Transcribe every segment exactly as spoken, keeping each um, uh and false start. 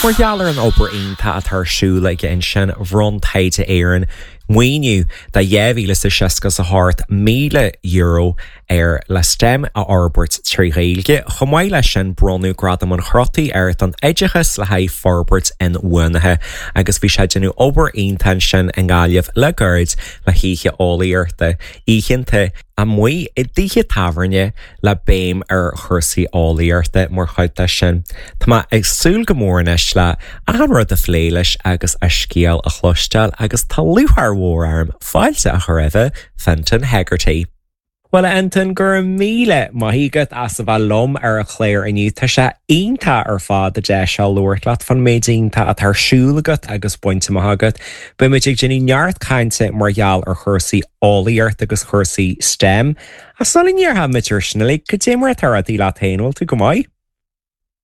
Mar gheall ar an obair iontach atá ar siúl aige ansin bhronn Taighde Éireann maoiniú de dhá mhíle is seasca is a hocht míle euro air le STEM a fhorbairt trí Ghaeilge. Chomh maith leis sin bronnadh Gradam an Chrotaigh air don oideachas le haghaidh forbairt inbhuanaithe agus bhí sé ag déanamh obair iontach ansin i nGaillimh le gairid le hoíche eolaíochta oícheanta amuigh i dtithe tábhairne le béim ar chúrsaí eolaíochta mar chuid de sin. Tá mé ag súil go mór anois le achan rud a phlé leis agus a scéal a chloisteáil agus tá lúcháir mhór orm fáilte a chur roimh Fintan Hegarty. Well Fintan go raibh míle maith agat as a bheith liom ar an chlár inniu Tá sé iontach ar fad a deis seo labhairt leat faoin méid iontach atá ar siúl agat agus bainte amach agat. Beimid ag déanamh neart cainte mar gheall ar chúrsaí eolaíocht agus chúrsaí STEM. A sula ndéarfaimid ar sin le cad é mar atá rudaí leat féin bhfuil tú go maith?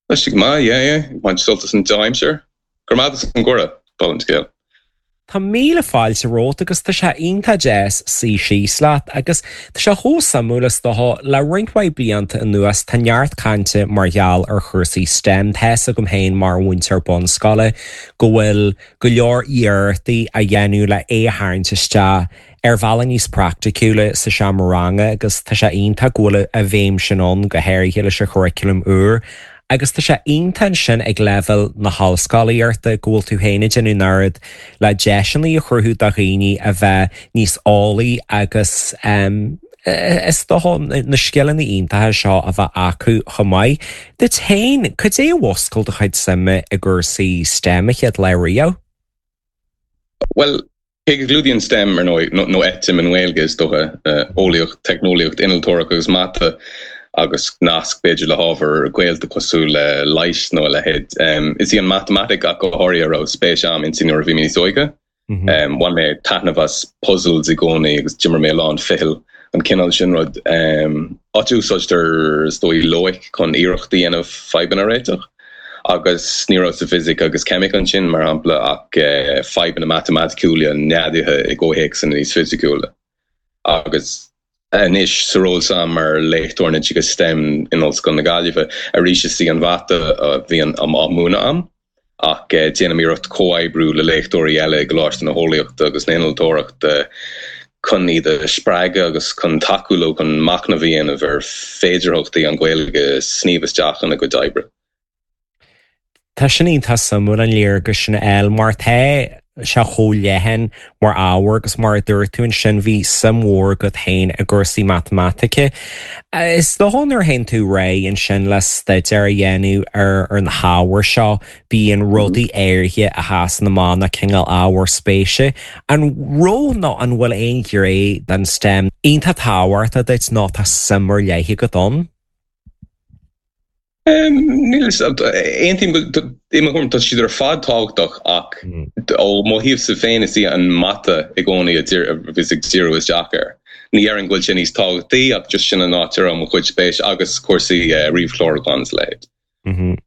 Tá sé go maith yeah, yeah. Baint sult as an dea-aimsir. Gur maith an gcuireadh an scéal. Tá míle fáilte romhat agus tá sé iontach deas suí síos leat agus tá sé chomh suimiúil is dócha le roinnt mhaith blianta anuas tá neart cainte mar gheall ar chúrsaí STEM tá a fhios agam féin mar mhúinteoir bunscoile go bhfuil go leor iarrachtaí á dhéanamh le é a tharraingt isteach ar bhealach níos praiticiúla sa seomra ranga agus tá sé iontach go bhfuil a bhéim sin ann go háirithe leis an churriculum úr. agus tá sé iontach sin ag leibhéal na hollscolaíochta go bhfuil tú féin ag déanamh an oiread le deiseanna a chruthú do dhaoine a bheith níos eolaí agus um, is dócha na scileanna iontacha seo a bheith acu chomh maith. Duit féin cad é a mhúscail do chuid suime i gcúrsaí STEM an chéad lá riamh? Well, cé go gclúdaíonn STEM ar ndóigh nó ETIM i nGaeilge is dócha eolaíocht, teicneolaíocht, innealtóireacht agus mata agus nasc b'fhéidir le hábhar gaolta cosúil le leighis nó a leithéid. Um, is í an matamaitic ach go háirithe a raibh spéis agam inti nuair a bhí mé níos óige. Mm -hmm. um, Bhain mé taitneamh as puzzles i gcónaí agus d'imir mé lán ficheall an cineál sin rud. Um, áit a úsáidtear is dóigh loighic chun iarracht a dhéanamh fadhbanna a réiteach. agus ní raibh sa fisic agus ceimic ansin mar shampla ach uh, fadhbanna matamaiticiúla neadaithe i gcomhthéacsanna níos fisiciúla. Agus anois sa ról s'agam mar léachtóir in oideachas STEM in Ollscoil na Gaillimhe arís is í an mhata a bhíonn á múineadh agam ach uh, déanaim iarracht comhoibriú le léachtóirí eile i gColáiste na hEolaíochta agus na hInnealtóireachta chun iad a spreagadh agus chun tacú leo chun machnamh a dhéanamh ar féidearthachtaí an Ghaeilge sníomh isteach ina gcuid oibre. Tá sin iontach suimiúil an léargas sin eil mar tá sé chomh leathan mar ábhar agus mar a dúirt tú ansin bhí suim mhór agat féin i gcúrsaí matamaitice. Is dócha nuair a théann tú réidh ansin le staidéar a dhéanamh ar ar na hábhair seo bíonn rudaí áirithe a sheasann amach na cineál ábhar spéise. An raibh nó an bhfuil aon ghné den STEM iontach tábhachtach duit nó tá suim ar leith agat ann? Níl aontaím i mo thuairim tá siad ar fad tábhachtach ach ó mo thaobhsa féin is í an mata i gcónaí a bhíos ag díriú isteach air. Ní dhéarfainn go bhfuil sé níos tábhachtaí ach just sin an áit ar mo chuid spéis agus cúrsaí ríomhchlárúcháin is a leithéid.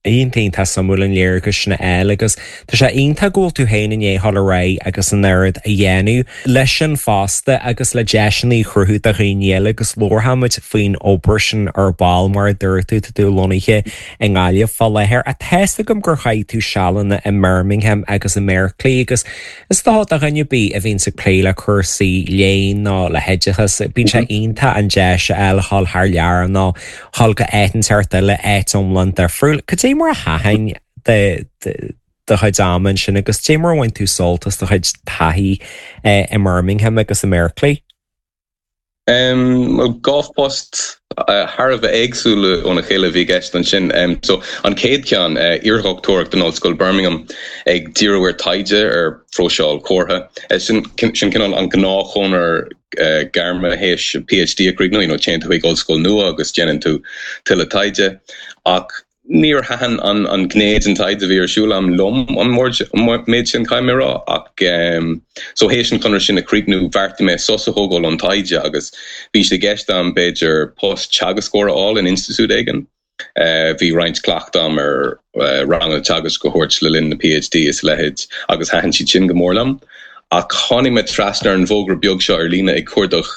Iontach tá suimiúil an léargas sin a fháil agus tá sé iontach go bhfuil tú féin i ndiaidh dul ar aghaidh agus an oiread a dhéanamh leis sin fosta agus le deiseanna a chruthú do dhaoine eile agus labharfaimid faoin obair sin ar ball mar a dúirt tú tá tú lonnaithe i nGaillimh fá láthair. Tá a fhios agam gur chaith tú sealanna i mBirmingham agus i mBerkeley agus is dócha do dhuine ar bith a bhíonns ag plé le cúrsaí léinn nó le hoideachas bíonn sé iontach an deis a fháil dhul thar lear nó dhul go áit inteacht eile áit iomlán difriúil. Cad é mar a thaitin do chuid ama ansin agus cad é mar a bhain tú sult as do chuid taithí i mBirmingham agus i mBerkeley? Um, dhá phost uh, thar a bheith éagsúla óna chéile bhí i gceist ansin. Um, so an chéad cheann uh, iardhochtúireacht in Ollscoil Birmingham ag díriú ar taighde ar phróiseáil comhartha. Uh, sin, sin cineál an gnáthchonair uh, gairme théis PhD a chríochnú, you know, téann tú chuig ollscoil nua agus déanann tú tuilleadh taighde ach níor thaitin an an ghné den taighde a bhí ar siúl agam liom an méid sin caithfidh mé a rá ach um, so théis an conradh sin a chríochnú bheartaigh mé sos a thógáil ón taighde agus bhí sé i gceist agam b'fhéidir post teagascóra a fháil in institiúid éigin. Uh, bhí roinnt cleachtadh agam ar uh, ranganna teagaisc a thabhairt le linn na PhD is a leithéid agus thaitin siad sin go mór liom. Ach tháinig mé trasna ar an bhfógra beag seo ar líne ag cuardach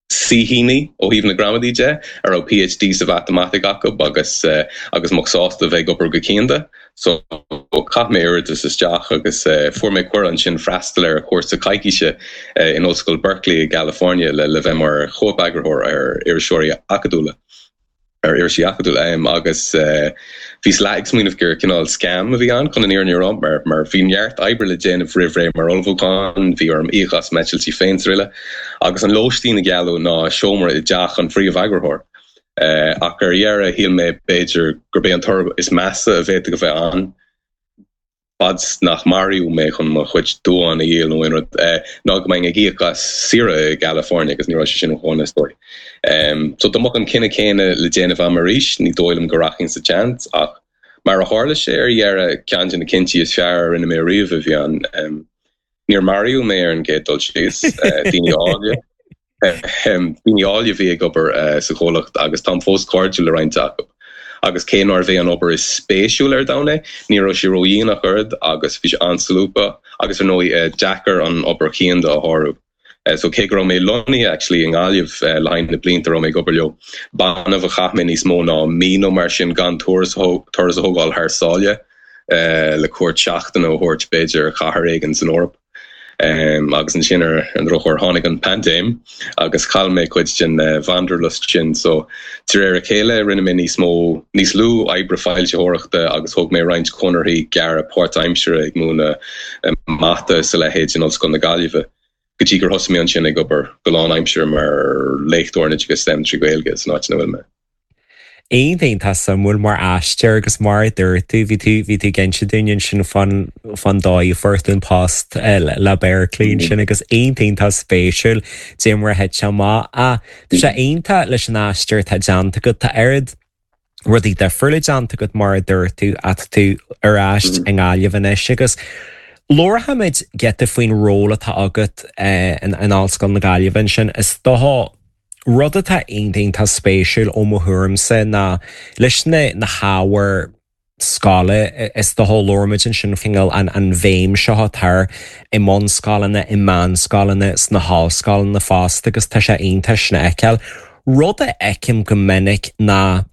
Saoithíní ó thaobh na gramadaí de, a raibh PhD sa mhatamaitic acu agus agus a mbeadh sásta a bheith ag obair go cianda. So chaith mé iarratas isteach agus fuair mé cuireadh ansin freastal ar chúrsa coicíse in Ollscoil Berkeley i gCalifornia le le bheith mar chóip-eagarthóir ar iriseoirí acadúla. ar irisí acadúla agus bhíos leath ag smaoineamh gur cineál scam a bhí ann chun an fhírinne a rá mar mar bhí neart oibre le déanamh roimh ré mar ullmhúchán, bhí orm íoc as m'eitiltí féin is araile agus an lóistín a gealladh ná seomra i dteach an phríomh-eagarthóir. Ach ar dheireadh shíl mé b'fhéidir gurb é an toradh is measa a bhféadfadh a bheith ann. fad is nach maraíodh mé chun mo chuid duán a dhíol nó aon rud, ná go mbeinn ag íoc as saoire i gCalifornia agus ní raibh sé sin chomh is dóigh. So dá mbeadh an cinneadh céanna le déanamh agam arís, ní dóigh liom go rachainn sa tseans ach mar a tharla sé ar dheireadh, ceann de na cinntí is fearr a rinne mé riamh a bhí ann. Níor maraíodh mé ar an gcéad dul síos, daoine áille. Daoine áille a bhí ag obair sa chomhlacht agus táim fós cairdiúil le roinnt acu. Agus cé nárbh é an obair is spéisiúla ar domhan é, ní raibh sé ródhian ach oiread agus bhí sé an-solúbtha agus ar ndóigh deacair an obair chianda a shárú. So cé go raibh mé lonnaithe actually i nGaillimh le haghaidh na blianta a raibh mé ag obair leo, b'annamh a chaith mé níos mó ná mí nó mar sin gan turas turas a thógáil thar sáile le cuairt seachtaine a thabhairt b'fhéidir ar chathair éigin san Eoraip. Agus ansin ar an drochuair tháinig an paindéim agus chaill mé cuid den wanderlust sin so de réir a chéile rinne mé níos mó, níos lú oibre foilsitheoireachta agus thóg mé roinnt conarthaí gearra páirtaimseartha ag múineadh mata is a leithéid in Ollscoil na Gaillimhe go dtí gur thosaigh mé ansin ag obair go lánaimseartha mar léachtóir in oideachas STEM trí Ghaeilge san áit ina bhfuil mé. Iontach iontach suimiúil mar aistear agus mar a dúirt tú, bhí tú bhí tú ag inse dúinn ansin fán fán dóigh a fuair tú an post le Berkeley ansin agus iontach iontach spéisiúil dé mar a thit sé amach. Ach tá sé iontach leis an aistear atá déanta agat, tá oiread rudaí difriúla déanta agat mar a dúirt tú ach tá tú ar ais i nGaillimh anois agus labharfaimid giota faoin ról atá agat in in Ollscoil na Gaillimhe ansin. Is dócha Rud atá iontach iontach spéisiúil ó mo thuairimse ná leis na na hábhair scoile, is dócha labhraímid ansin cineál an an bhéim seo atá ar i mbunscoileanna, i meánscoileanna, sna hollscoileanna fosta agus tá sé iontach sin a fheiceáil. Rud a fheicim go minic ná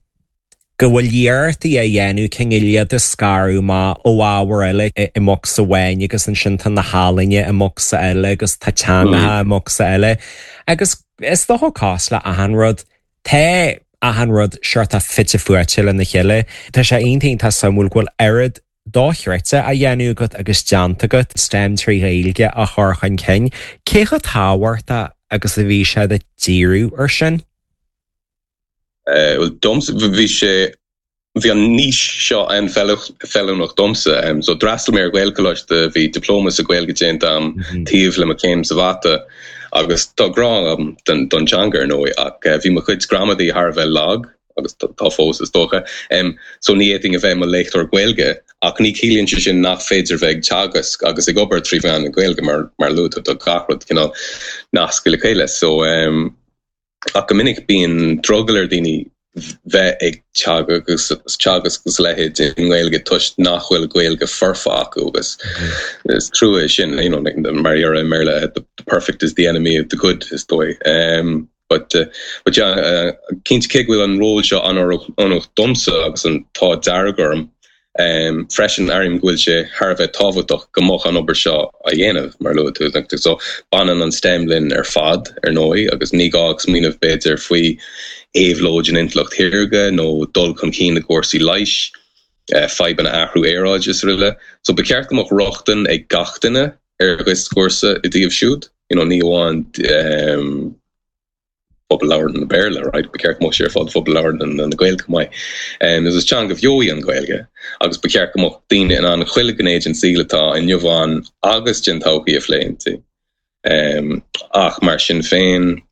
go bhfuil iarrachtaí á dhéanamh cineál iad a scaradh amach ó ábhair eile i mbocsa amháin agus ansin tá na healaíona i mbocsa eile agus tá teangacha i mbocsa eile agus is dócha cosúil le achan rud, tá achan rud seort fite fuaite lena chéile. Tá sé iontach iontach suimiúil go bhfuil oiread dochreidte á dhéanamh agat agus déanta agat STEM trí Ghaeilge a chur chun cinn. Cé chomh tábhachtach agus a bhí sé duit díriú air sin? Bhuel, domsa, bhí sé, bhí an niche seo an-fheiliúnach domsa. So d'fhreastail mé ar Ghaelcholáiste, bhí dioplóma sa Ghaeilge déanta agam taobh le mo chéim sa mhata agus tá grá agam don teanga ar ndóigh ach bhí mo chuid gramadaí thar a bheith lag agus tá fós is dócha. So ní fhéadfainn a bheith i mo léachtóir Gaeilge ach ní chiallaíonn sé sin nach féidir bheith ag teagasc agus ag obair trí mheán na Gaeilge mar mar luaigh tú tá gach rud cineál nasctha le chéile. So Ach go minic bíonn drogall ar dhaoine bheith ag teagasc agus a leithéid i nGaeilge toisc nach bhfuil Gaeilge foirfe acu agus is trua é sin, you know, mar a déarfá i mBéarla the perfect is the enemy of the good is dóigh. But but yeah, cinnte cé go bhfuil an ról seo an-oiriúnach domsa agus an t-ádh dearg orm, Freisin, airím go bhfuil sé thar a bheith tábhachtach go mbeadh an obair seo á dhéanamh, mar a luaigh tú. So, baineann an STEM linn ar fad, ar ndóigh, agus ní gá ach smaoineamh, b'fhéidir, faoi éabhlóid an intleacht shaorga nó dul chun cinn i gcúrsaí leighis, fadhbanna athrú aeráide is araile. So, ba cheart go mbeadh rochtain ag gach duine ar dhioscúrsa i dtaobh siúd, you know, ní amháin phobal labhartha na Béarla, right? Ba cheart go mbeadh sé ar fáil do phobal labhartha na Gaeilge chomh maith. Is is teanga bheo í an Ghaeilge agus ba cheart go mbeadh daoine in ann chuile ghné den saol atá inniu ann agus den todhchaí a phlé inti. Ach mar sin féin,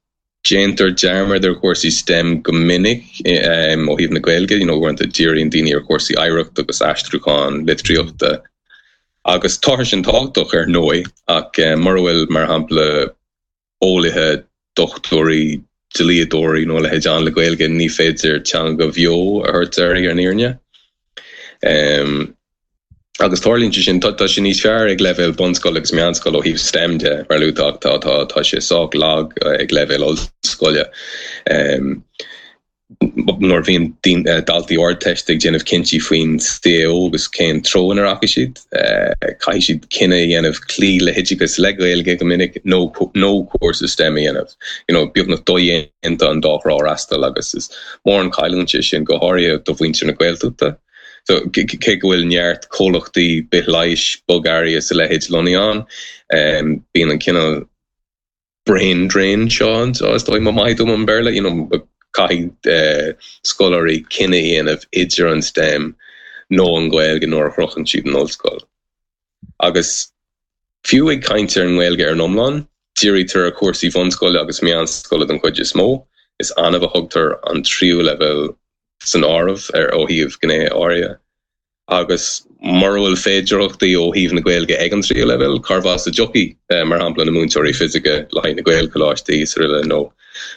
déantar dearmad ar chúrsaí STEM go minic ó thaobh na Gaeilge, you know, uaireanta díríonn daoine ar chúrsaí oidhreachta agus aistriúchán litríochta agus tá sin tábhachtach ar ndóigh ach mura bhfuil, mar shampla, eolaithe, dochtúirí, dlíodóirí nó a leithéid ann le Gaeilge, ní féidir teanga bheo a thabhairt uirthi ar an fhírinne. Agus tarlaíonn sé sin, tá sé níos fearr ag leibhéal bunscoile agus meánscoile ó thaobh STEM de, mar a luaigh tú, ach tá tá tá sé sách lag ag leibhéal ollscoile. Nuair a bhíonn daltaí Ardteiste ag déanamh cinntí faoin CAO agus cén treo ina rachaidh siad, caithfidh siad cinneadh a dhéanamh cloí le hoideachas le Gaeilge go minic nó nó cúrsa STEM a dhéanamh. You know, beagnach dodhéanta an dá thrá a fhreastal agus is mór an chailliúint é sin, go háirithe do mhuintir na Gaeltachta. So, cé go bhfuil neart comhlachtaí bithleighis, bogearraí is a leithéid lonnaithe ann, bíonn an cineál brain drain seo ann, is dóigh, má maith dom an Béarla, you know, caithfidh scoláirí cinneadh a dhéanamh idir an STEM nó an Ghaeilge nuair a shroicheann siad an ollscoil. Agus fiú ag caint ar an nGaeilge ar an iomlán, dírítear ar chúrsaí bhunscoile agus meánscoile den chuid is mó, is annamh a thugtar an tríú leibhéal san áireamh ar ó thaobh gnéithe áirithe. Agus mura bhfuil féidearthachtaí ó thaobh na Gaeilge ag an tríú leibhéal, cárbh as a dtiocfaidh, mar shampla, na múinteoirí fisice le haghaidh na Gaelcholáistí is araile nó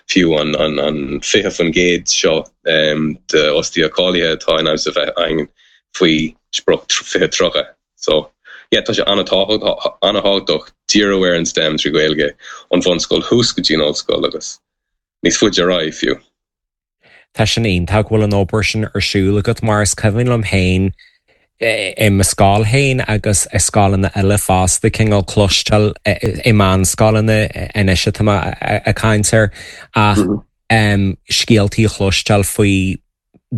fiú an an fiche faoin gcéad seo d'fhostaithe cáilithe atá in ainm is a bheith againn faoi sprioc fiche tríocha. So, yeah, tá sé an-tábhachtach díriú ar an STEM trí Ghaeilge ón bhunscoil thuas go dtí an ollscoil agus níos faide ar aghaidh fiú. Tá sin iontach go bhfuil an obair sin ar siúl agat mar is cuimhin liom féin i mo scoil féin agus i scoileanna eile fosta cineál cloisteáil i meánscoileanna anois atá mé ag caint air ach scéaltaí a chloisteáil faoi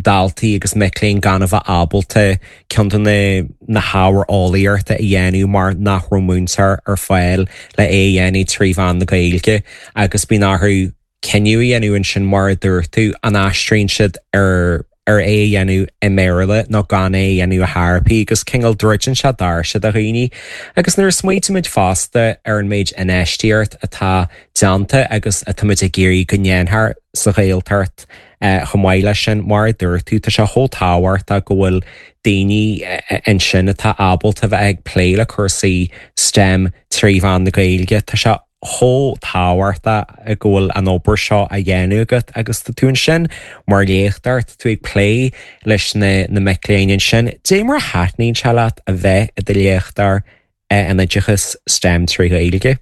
daltaí agus mic léinn gan a bheith ábalta ceann de na hábhair eolaíochta a dhéanamh mar nach raibh múinteoir ar fáil le é a dhéanamh trí mheán na Gaeilge agus bíonn orthu cinneadh a dhéanamh ansin mar a dúirt tú, an aistríonn siad ar ar é a dhéanamh i mBéarla nó gan é a dhéanamh ar chor ar bith agus cineál druideann sé doirse do dhaoine. Agus nuair a smaoitímid fosta ar an méid infheistíocht atá déanta agus atáimid ag iarraidh go ndéanfar sa Ghaeltacht chomh maith leis sin, mar a dúirt tú, tá sé chomh tábhachtach go bhfuil daoine ansin atá ábalta bheith ag plé le cúrsaí STEM trí mheán na Gaeilge. Tá sé chomh tábhachtach go bhfuil an obair seo á dhéanamh agat agus tá tú ansin mar léachtóir, tá tú ag plé leis na na mic léinn ansin. Dé mar a thaitníonn sé leat a bheith i do léachtóir in oideachas STEM trí Ghaeilge?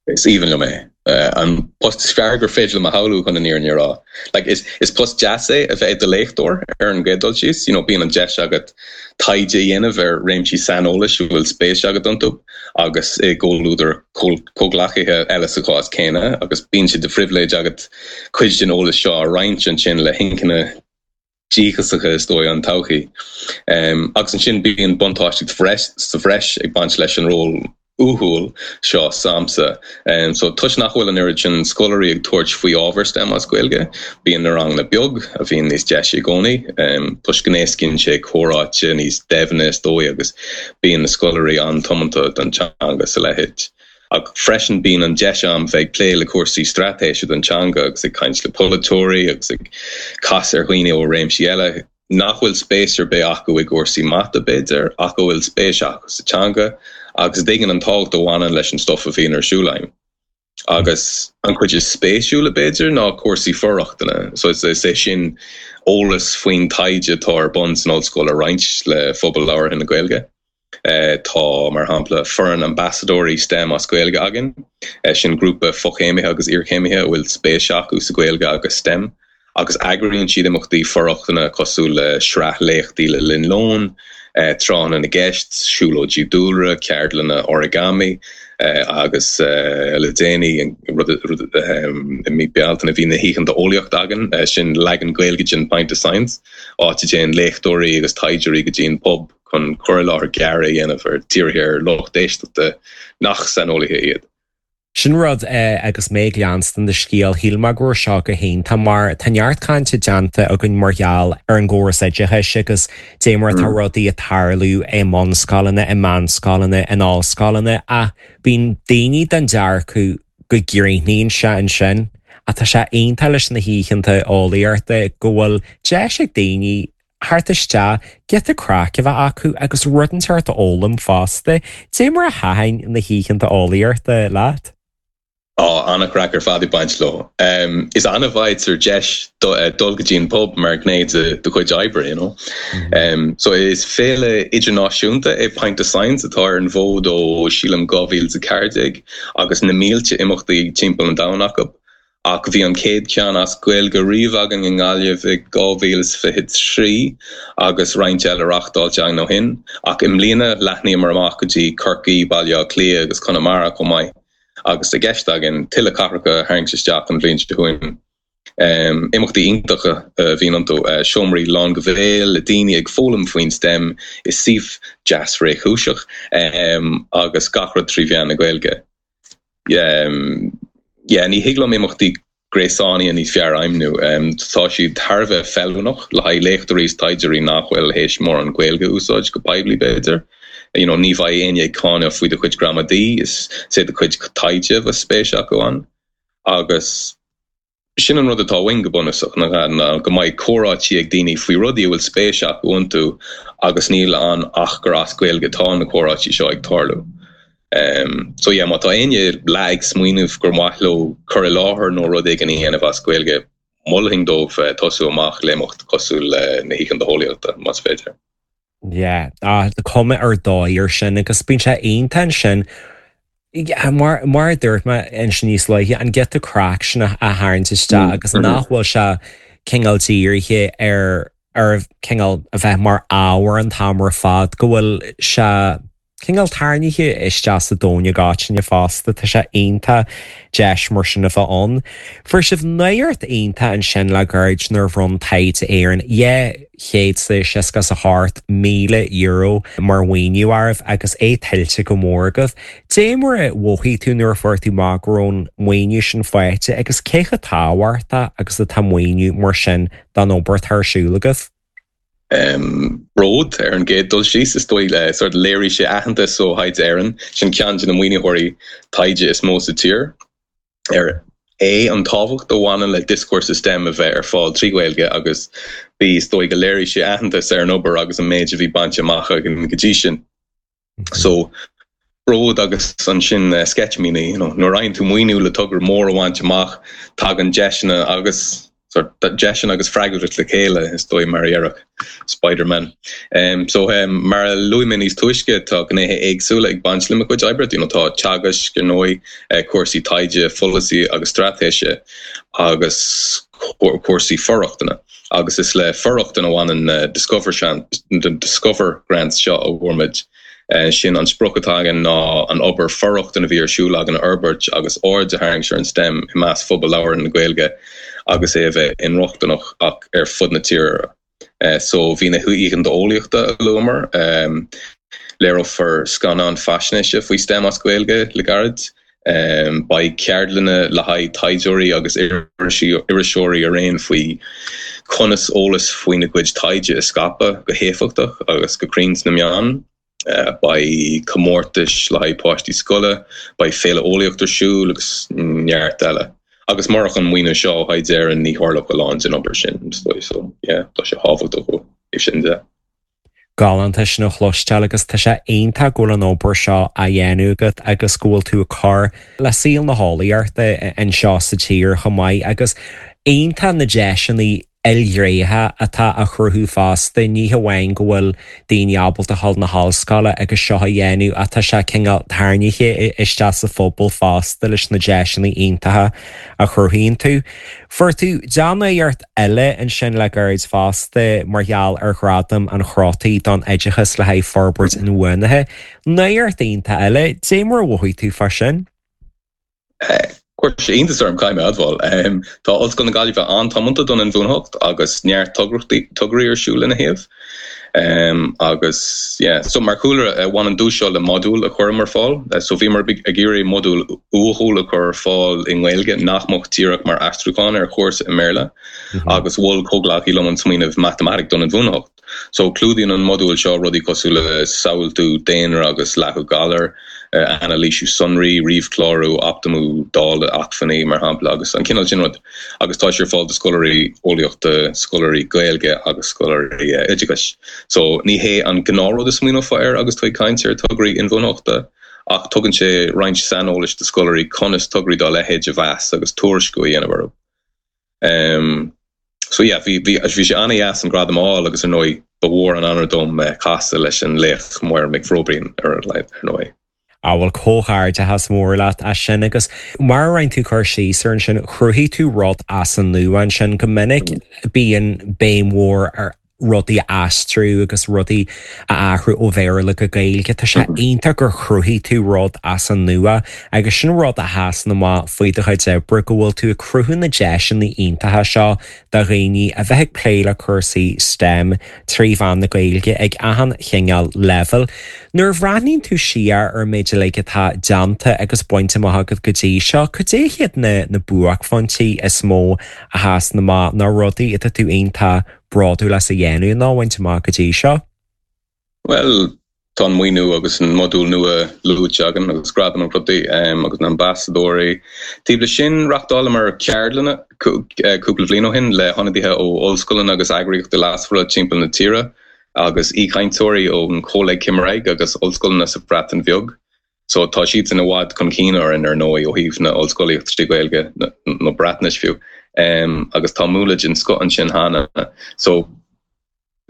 Is aoibhinn liom é. An post is fearr gur féidir liom a shamhlú chun an fhírinne a rá. Like, is, is post deas é a bheith i do léachtóir ar an gcéad dul síos, you know, bíonn an deis agat taighde a dhéanamh ar réimsí saineolais a bhfuil spéis agat iontu agus i gcomhluadar comhghleacaithe eile sa chás céanna agus bíonn sé de phribhléid agat cuid den eolas seo a roinnt ansin le hinchinne díochasacha is dóigh an todhchaí. Agus ansin bíonn buntáiste sa bhreis ag baint leis an ról uathúil seo s'agamsa. So toisc nach bhfuil an oiread sin scoláirí ag tabhairt faoi ábhar STEM as Gaeilge, bíonn na ranganna beag, a bhíonn níos deise i gcónaí, toisc go n-éascaíonn sé comhráite níos doimhne is dóigh agus bíonn na scoláirí an-tiomanta don teanga is a leithéid. Ach freisin bíonn an deis agam bheith ag plé le cúrsaí straitéise don teanga agus ag caint le polaiteoirí agus ag casadh ar dhaoine ó réimsí eile nach bhfuil spéis ar bith acu i gcúrsaí mata, b'fhéidir, ach a bhfuil spéis acu sa teanga agus a dtuigeann an tábhacht a bhaineann leis an stuif a bhíonn ar siúl agam. Agus an chuid is spéisiúla, b'fhéidir, ná cúrsaí for-rochtana, so is é sin eolas faoin taighde atá ar bun san ollscoil a roinnt le phobal labhartha na Gaeilge. Tá, mar shampla, foireann ambasadóirí STEM as Gaeilge againn, sin grúpa fochéimithe agus iarchéimithe a bhfuil spéis acu sa Ghaeilge agus STEM, agus eagraíonn siad imeachtaí for-rochtana cosúil le sraith léachtaí le linn lóin, tráthanna na gceist, siúlóidí dúlra, ceardlanna origami agus le déanaí, rud i mí Bealtaine, bhí na hOícheanta Eolaíochta againn, sin leagan Gaeilge den Pint of Science, áit a dtéann léachtóirí agus taighdeoirí go dtí an pub chun cur i láthair gearr a dhéanamh ar dírithe ar lucht éisteachta nach saineolaithe iad. Sin rud agus mé ag leanstan do scéal, shíl mé go raibh seo go hiontach mar tá neart cainte déanta againn mar gheall ar an gcóras oideachais agus dé mar atá rudaí ag tarlú i mbunscoileanna, i meánscoileanna, in ollscoileanna ach bíonn daoine den dearcadh go gcríochnaíonn sé ansin ach tá sé iontach leis na hoícheanta eolaíochta go bhfuil deis ag daoine theacht isteach, giota craic a bheith acu agus rud inteacht a fhoghlaim fosta. Dé mar a thaitin na hoícheanta eolaíochta leat? Á, an-chraic ar fad ag baint leo. Um, is annamh a fhaightear deis do, uh, dul go dtí an pub mar ghné de do chuid oibre, you know. Mm -hmm. um, so is féile idirnáisiúnta é Pint of Science atá ar an bhfód ó sílim dhá mhíle a ceathair déag agus na mílte imeachtaí timpeall an domhain acu. Ach bhí an chéad cheann as Gaeilge riamh againn i nGaillimh i dhá mhíle is fiche trí agus roinnt eile reáchtáilte againn ó shin, ach i mbliana leathnaíomar amach go dtí Corcaigh, Baile Átha Cliath agus Conamara chomh maith, agus i gceist againn tuilleadh cathracha a tharraingt isteach an bhliain seo chugainn. Imeachtaí iontacha a bhíonn iontu, seomraí lán go béal le daoine ag foghlaim faoin STEM i suíomh deas réchúiseach agus gach rud trí mheán na Gaeilge. Yeah, ní thig liom imeachtaí gréasánaithe níos fearr a ainmniú. Tá siad thar a bheith feiliúnach le haghaidh léachtóirí is taighdeoirí nach bhfuil théis mórán Gaeilge a úsáid go poiblí b'fhéidir. You know, ní bheidh éinne ag cáineadh faoi do chuid gramadaí, is é do chuid taighde a bheadh spéis acu ann. Agus sin an rud atá uainn go bunúsach, ná go mbeidh comhráití ag daoine faoi rudaí a bhfuil spéis acu iontu agus níl ann ach gur as Gaeilge atá na comhráití seo ag tarlú. Um, so yeah, má tá éinne le ag smaoineamh gur mhaith leo cur i láthair nó rud éigin a dhéanamh as Gaeilge, mholfainn dóibh uh, tosú amach le imeacht cosúil le na hOícheanta Eolaíochta más féidir. Yeah, ah, cuma ar dóigh ar sin agus bíonn sé iontach ansin mar mar a dúirt mé ansin níos luaithe an giota craic sin a tharraingt isteach agus nach bhfuil sé cineál dírithe ar ar cineál a bheith mar ábhar an t-am ar fad go bhfuil sé cineál tarraingthe isteach sa domhan i gcoitinne fosta tá sé iontach deis mar sin a bheith ann. Fuair sibh nuacht iontach ansin le gairid nuair a bhronn Taighde Éireann dhá chéad seasca a hocht míle euro mar mhaoiniú oraibh agus é tuillte go mór agaibh. Dé mar a mhothaigh tú nuair a fuair tú amach go raibh an maoiniú sin faighte agus cé chomh tábhachtach agus atá maoiniú mar sin don obair atá ar siúl agaibh. Um, bród ar an gcéad dul síos is dóigh le sort léirigh sé aitheantas ó Thaighde Éireann sin ceann de na maoinitheoirí taighde is mó sa tír ar é an tábhacht a bhaineann le dioscúrsa STEM a bheith ar fáil trí Ghaeilge agus bhí is dóigh go léirigh sé aitheantas ar an obair agus an méid a bhí bainte amach againn go dtí sin. So bród agus ansin uh, sceitimíní you know, nuair a fhaigheann tú maoiniú le togra mór a bhaint amach tagann deiseanna agus sort deiseanna agus freagracht le chéile is dóigh mar a Spider-Man. Um, so um, mar a luaigh mé níos túisce tá gnéithe éagsúla ag baint le mo chuid oibre, you know, tá teagasc ar ndóigh uh, cúrsaí taighde, pholasaí agus straitéise agus cúrsaí for-rochtana. Agus is le for-rochtain a bhaineann uh, Discover the Discover Grants seo a bhfuair muid. Uh, sin an sprioc atá againn ná an obair for-rochtana a bhí ar siúl againn a fhorbairt agus aird a tharraingt ar an STEM i measc phobal labhartha na Gaeilge agus é a bheith inrochtana ach ar fud na tíre. Uh, so bhí na hOícheanta Eolaíochta a luamar, um, léireofar scannán faisnéise faoi STEM as Gaeilge le gairid. Um, beidh ceardlanna le haghaidh taighdeoirí agus iriseoirí araon faoi conas eolas faoina gcuid taighde a scaipeadh go héifeachtach agus go cruinn sna meáin. Uh, beidh comórtais le haghaidh páistí scoile, beidh féile eolaíochta ar siúl agus neart eile. Agus murach an maoiniú seo ó Thaighde Éireann ní tharlódh a lán den obair sin so yeah, tá sé tábhachtach ó sin de. Galánta sin a chloisteáil agus tá sé iontach go bhfuil an obair seo á dhéanamh agat agus go bhfuil tú ag cur le saol na heolaíochta anseo sa tír chomh maith agus iontach na deiseanna ilghnéitheacha atá á chruthú fosta ní hamháin go bhfuil daoine ábalta dul na hollscoile agus seo a dhéanamh atá sé cineál tarraingthe isteach sa phobal fosta leis na deiseanna iontacha a chruthaíonn tú. Fuair tú dea-nuacht eile ansin le gairid fosta mar gheall ar ghradam an Chrótaigh don oideachas le haghaidh forbairt inbhuanaithe. Nuacht iontach eile, dé mar a mhothaigh tú fá sin? Chuir sé iontas orm caithfidh mé a admháil. Um, tá Ollscoil na Gaillimhe an-tiomanta don inbhuanaitheacht agus neart tograí ar siúl ina thaobh. Um, agus yeah, so mar chúlra uh, bhain an duais seo le modúl a chur ar fáil, uh, so bhíomar ag iarraidh modúl uathúil a chur ar fáil i nGaeilge nach mbeadh díreach mar aistriúchán ar chúrsa i mBéarla, mm -hmm. agus mhol comhghleacaí liom an smaoineamh matamaitic don inbhuanaitheacht. So clúdaíonn an modúl seo rudaí cosúil le samhaltú daonra agus leathadh galar, uh, anailísiú sonraí, ríomhchlárú, optamú dáileadh acmhainní mar shampla agus an cineál sin rud agus tá sé ar fáil do scoláirí eolaíochta, scoláirí Gaeilge agus scoláirí uh, oideachais. So ní hé an gnáthrud a smaoineofá air agus tú ag caint ar tograí inbhuanaitheachta ach tugann sé roinnt saineolais do scoláirí conas tograí dá leithéid a mheas agus tuairisciú a dhéanamh orthu. Um, so yeah, bhí bhí bhí sé an-deas an gradam a fháil agus ar ndóigh ba mhór an onóir dom eh, casadh leis an laoch Máire Mhic Róibín ar ar ndóigh. Á bhuel comhghairdeachas mór leat as sin agus mar a rinne tú cur síos air ansin chruthaigh tú rud as an nua ansin go minic bíonn béim mhór ar rudaí a aistriú agus rudaí a athrú ó Bhéarla go Gaeilge Tá sé iontach gur chruthaigh tú rud as an nua agus sin rud a sheasann amach faoi do chuid oibre go bhfuil tú ag cruthú na deiseanna iontacha seo do dhaoine a bheith ag plé le cúrsaí STEM trí mheán na Gaeilge ag achan chineál leibhéal. Nuair a bhreathnaíonn tú siar ar méid uilig atá déanta agus bainte amach agat go dtí seo, cad é hiad na na buaicphointí is mó a sheasann amach na rudaí atá tú iontach bródúil as a dhéanamh nó a bhaint amach go dtí seo? Well, tá an maoiniú agus an modúl nua luaite againn agus gradam an rudaí um, agus na ambasadóirí. Taobh leis sin reáchtálamar ceardlanna cúpla bliain ó shin le hionadaithe ó ollscoileanna agus eagraíochtaí leasmhara timpeall na tíre agus aoichainteoirí ón Coleg Cymraeg agus ollscoileanna sa Bhreatain Bheag. So tá siad san i bhfad chun cinn orainn ar ndóigh ó thaobh na ollscolaíocht trí Ghaeilge nó Breatnais fiú. Um, agus tá múnla den scoth ansin cheana. So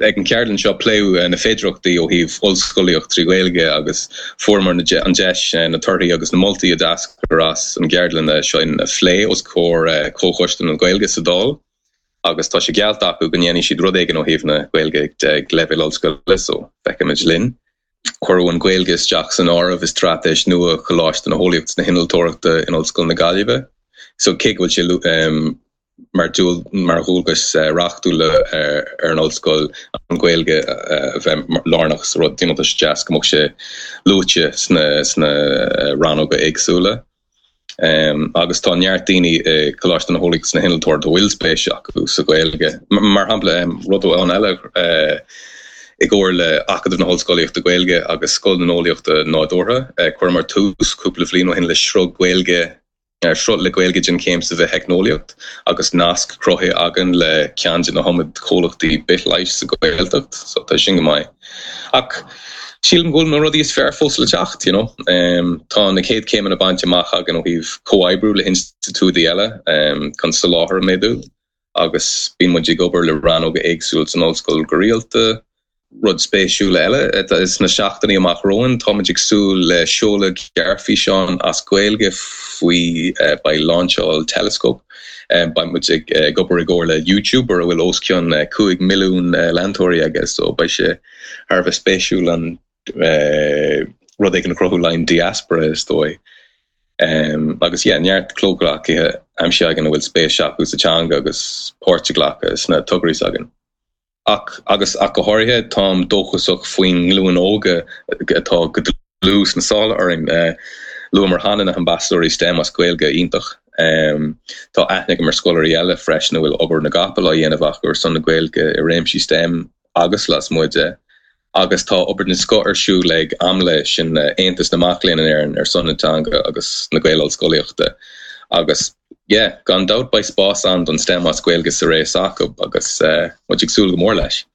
ag an ceardlann seo pléadh eh, na féidearthachtaí ó thaobh ollscolaíocht trí Ghaeilge agus fuaireamar an deis eh, na torthaí agus na moltaí a d'eascair as an gceardlann seo a phlé os comhair eh, Comhchoiste na Gaeilge sa Dáil agus tá sé geallta acu go ndéanfaidh siad rud éigin ó thaobh na Gaeilge ag leibhéal ollscoile so feicfimid linn. Cuireadh an Ghaeilge isteach san áireamh i straitéis nua Choláiste na hEolaíochta is na hInnealtóireachta in Ollscoil na Gaillimhe. So cé go bhfuil sé um, mar dúil mar dhualgas eh, reachtúil eh, ar an ollscoil an Ghaeilge eh, a bheith lárnach sa rud you know, tá sé deas go mbeadh sé luaite sna sna rannóga éagsúla. Um, agus tá neart daoine i Coláiste na hEolaíochta is na hInnealtóireachta a bhfuil spéis acu sa Ghaeilge. Mar shampla um, rud amháin eile uh, i gcomhar le Acadamh na hOllscolaíochta Gaeilge agus Scoil na nEolaíochtaí Nádúrtha, uh, chuireamar tús cúpla bliain ó shin le sruth Gaeilge ar sruth le Gaeilge den chéim sa bhitheicneolaíocht agus nasc cruthaithe againn le ceann de na hiomad comhlachtaí bithleighis sa Ghaeltacht, so tá sin go maith. Ach sílim go bhfuil na rudaí is fearr fós le teacht, you know. Um, tá na chéad chéimeanna bainte amach againn ó thaobh comhoibriú le hinstitiúidí eile um, chun soláthar a mhéadú agus bíonn muid ag obair le rannóga éagsúil san ollscoil go rialta, Rud spéisiúil eile sna seachtainí amach romhainn, táimid ag súil le seoladh gearrfhíseán as Gaeilge faoi beidh lainseáil Telescope. Beidh muid ag obair i gcomhar le YouTuber a bhfuil os cionn cúig milliún leantóirí aige so beidh sé thar a bheith spéisiúil an rud éigin a chruthú le an diaspora is dóigh. Agus yeah, neart comhghleacaithe aimsithe againn a bhfuil spéis acu sa teanga agus páirt a ghlacadh sna tograí s'againn. Ach, agus ach go háirithe, táim dóchasach faoin nglúin óga atá go dlúth sna sála orainn. Luamar cheana na hambasadóirí STEM as Gaeilge iontach. Tá aithne agam ar scoláirí eile freisin a bhfuil obair na gcapall á dhéanamh acu ar son na Gaeilge i réimsí STEM agus lasmuigh de. Agus tá obair den scoth ar siúl ag AMLÉ, sin Aontas na Mac Léinn in Éirinn ar son na teanga agus na Gael-Ollscolaíochta. Agus yeah, gan dabht beidh spás ann don STEM as Gaeilge sa ré s'acu agus muid ag súil go mór leis.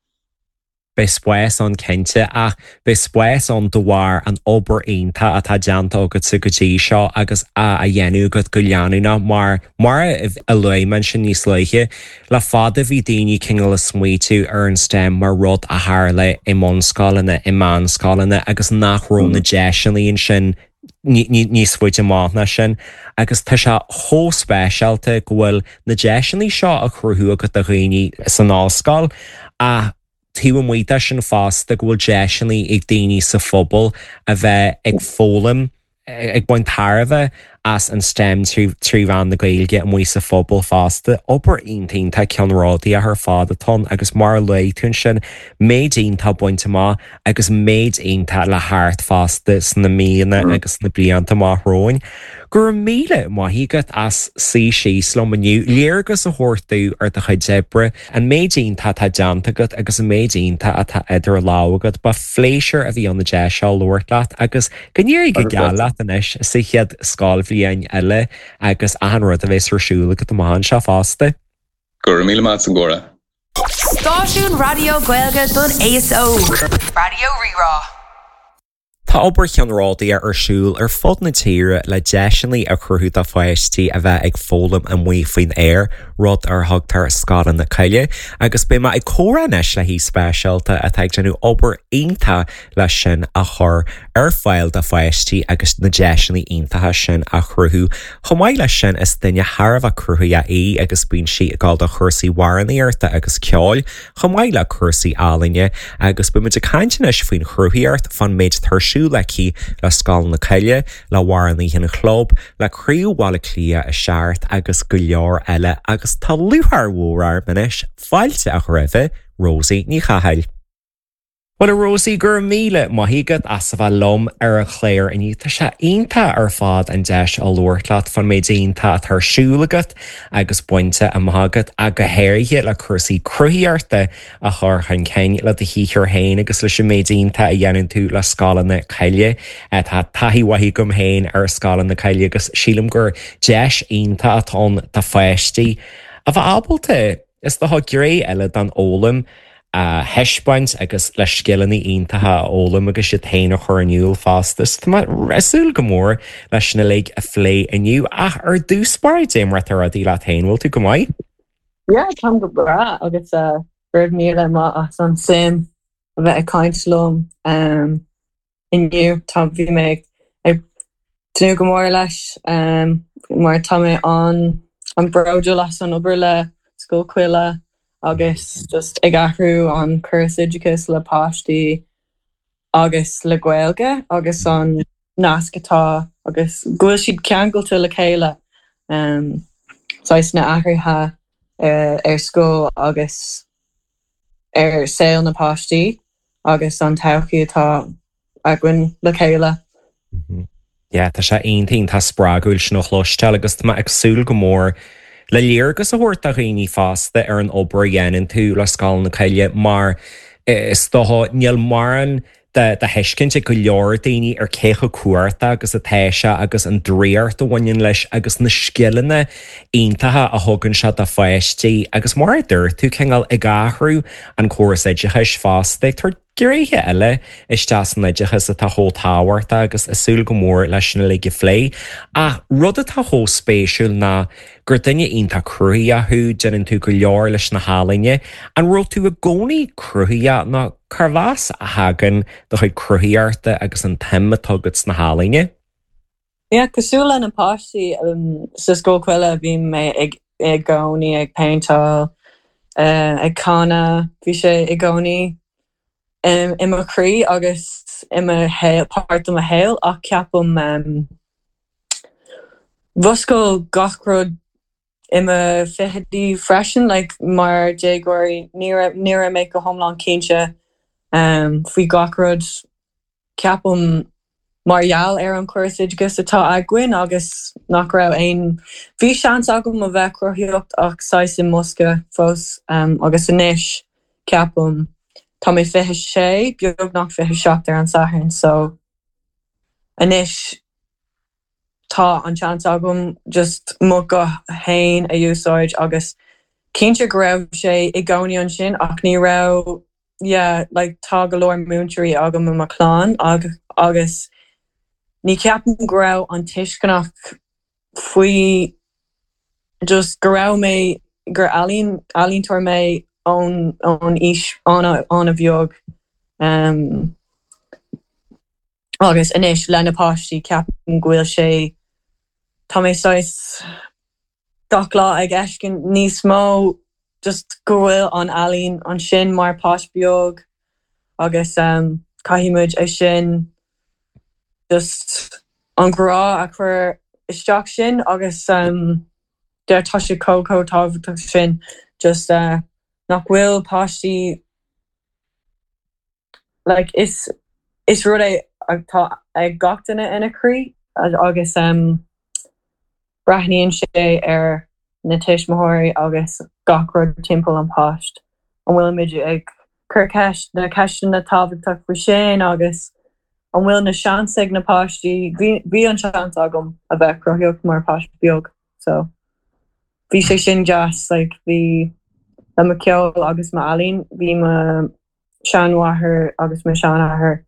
Beidh spás ann cinnte, ach beidh spás ann de bharr an obair iontach atá déanta agatsa go dtí seo agus á dhéanamh agat go leanúnach mar, mar a luaigh mé ansin níos luaithe, le fada bhí daoine cineál ag smaoitiú ar an STEM mar rud a tharla i mbunscoileanna, i meánscoileanna agus nach raibh na deiseanna ansin níos faide amach ná sin agus tá sé chomh speisialta go bhfuil na deiseanna seo á chruthú agat do dhaoine san ollscoil ach taobh amuigh de sin fosta go bhfuil deiseanna ag daoine sa phobal a bheith ag foghlaim, ag baint tairbhe as an STEM trí mheán na Gaeilge amuigh sa phobal fosta. Obair iontach iontach ceannródaíoch ar fad atá ann agus mar a luaigh tú ansin, méid iontach bainte amach agus méid iontach le theacht fosta sna míonna agus sna blianta amach romhainn. Go raibh míle maith agat as suí síos liom inniu, léargas a thabhairt domh ar do chuid oibre, an méid iontach atá déanta agat agus an méid iontach atá idir lámha agat. Ba phléisiúr a bhí ann an deis seo labhairt leat agus go n-éirí go geal leat anois sa chéad scoilbhliain eile agus achan rud a bheas ar siúl agat amach anseo fosta. Go raibh míle maith as an gcomhrá. Stáisiún raidió Gaeilge don aos óg. Raidió Rí-Rá. Tá obair cheannródaíoch ar siúl ar fud na tíre le deiseanna a chruthú do pháistí a bheith ag foghlaim amuigh faoin aer, rud ar thugtar scoileanna coille, agus beidh mé ag comhrá anois le haoi speisialta atá ag déanamh obair iontach leis sin a chur ar fáil do pháistí agus na deiseanna iontacha sin a chruthú. Chomh maith leis sin is duine thar a bheith cruthaitheach í agus bíonn sí ag dul do chúrsaí amhránaíochta agus ceoil, chomh maith le cúrsaí ealaíne agus beimid ag caint anois faoin chruthaíocht fán méid atá ar siúl aici le Scoil na Coille, le hAmhránaithe an Chlub, le Craobh Bhaile Átha Cliath a seacht agus go leor eile agus tá lúcháir mhór orm anois fáilte a chur roimh Rosie Ní Chathail. Well a Rosie gur míle maith agat as a bheith liom ar an chlár inniu Tá sé iontach ar fad an deis a labhairt leat fán méid iontach atá ar siúl agat agus bainte amach agat a go háirithe le cúrsaí cruthaíochta a chur chun cinn le do shaothar féin agus leis an méid iontach a dhéanann tú le Scoileanna Coille tá taithí mhaith agam féin ar Scoileanna Coille agus sílim gur deis iontach atá ann do pháistí a bheith ábalta is dócha gné eile den fhoghlaim a thaispeáint agus le scileanna iontacha a fhoghlaim agus iad féin a chur in iúl fosta. Tá mé ag súil go mór leis sin uilig a phlé inniu ach ar dtús báire cad é mar atá rudaí leat féin bhfuil tú go maith? Yeah, táim go breá agus uh, go raibh míle maith as an suim a bheith ag caint liom um, inniu tá bhí mé ag tnúth go mór leis um, mar tá mé an an bródúil as an obair le Scoil Coille agus just ag athrú an córas oideachais le páistí agus le Gaeilge agus an nasc atá agus go bhfuil siad ceangailte le chéile um, saghas na athruithe uh, ar scoil agus ar saol na páistí agus an todhchaí atá againn le chéile. Yeah, tá sé iontach spreagúil sin a chloisteáil agus tá ag súil go mór le léargas a thabhairt do dhaoine fosta ar an obair a dhéanann tú le Scoil na Coille mar is dócha níl mórán de de thuiscint ag go leor daoine ar cé chomh cumhachtach agus atá sé agus an draíocht a bhaineann leis agus na scileanna iontacha a thugann sé do pháistí agus mar a dúirt tú cineál ag athrú an córas oideachais fosta tar gnéithe eile isteach san oideachas atá chomh tábhachtach agus ag súil go mór leis sin uilig a phlé. Ach rud atá chomh spéisiúil ná gur duine iontach cruthaitheach thú déanann tú go leor leis na healaíona, an raibh tú i gcónaí cruthaitheach nó carbh as a thagann do chuid cruthaíochta agus an tsuim atá agat sna healaíona? Yeah, cosúil le na páistí um, sa Scoil Coille bhí mé ag i gcónaí ag péinteáil uh, ag canadh bhí sé i gcónaí um, i mo chroí agus i mo shaol páirt de mo shaol ach ceapaim um, mhúscail gach rud i mo fichidí freisin like, mar déagóirí ní ní raibh mé go hiomlán cinnte um, faoi gach rud ceapaim mar gheall ar an córas oideachais atá againn agus nach raibh aon bhí seans agam a bheith cruthaitheach ach saghas i mbosca fós um, agus anois ceapaim tá mé fiche sé beagnach fiche seacht ar an Satharn so anois tá an seans agam just mo ghuth féin a úsáid agus cinnte go raibh sé i gcónaí ansin ach ní raibh yeah, like, tá go leor múinteoirí agam i mo chlann ag, agus ní ceapaim go raibh an tuisceanach faoi just go raibh mé gur ealaín ealaíontóir mé ón ón aois an-bheag um, agus anois le na páistí ceapaim go bhfuil sé tá mé saghas gach lá ag fheiscint níos mó just go bhfuil an ealaín ansin mar páiste beag agus um, caithfimid é sin just an grá a chur isteach sin agus um, de tá sé chomh chomh tábhachtach sin just uh, nach bhfuil páistí like, is is rud é atá ag gach duine ina chroí agus um, breathnaíonn sé ar na tuismitheoirí agus gach rud timpeall an páiste. An bhfuilimid ag cur ceist na ceisteanna tábhachtach faoi sin agus an bhfuil na seans ag na páistí bhí an seans agam a bheith cruthaitheach mar páiste beag so bhí sé sin deas like, bhí le mo ceol agus m'ealaín bhí mo seanmháthair agus mo seanathair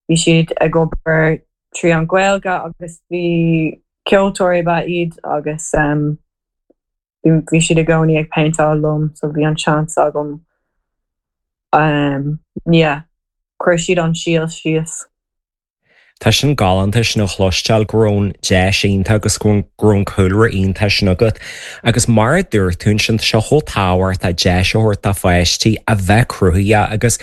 Bhí siad ag obair trí an Ghaeilge agus bhí ceoltóirí ba iad agus um, bhí siad i gcónaí ag péinteáil liom so bhí an seans agam um, yeah, chuir siad an síol síos. Tá sin galánta sin a chloisteáil go raibh an deis iontach agus go raibh an cúlra iontach sin agat, agus mar a dúirt tú ansin tá sé chomh tábhachtach deis a thabhairt do pháistí a bheith cruthaitheach agus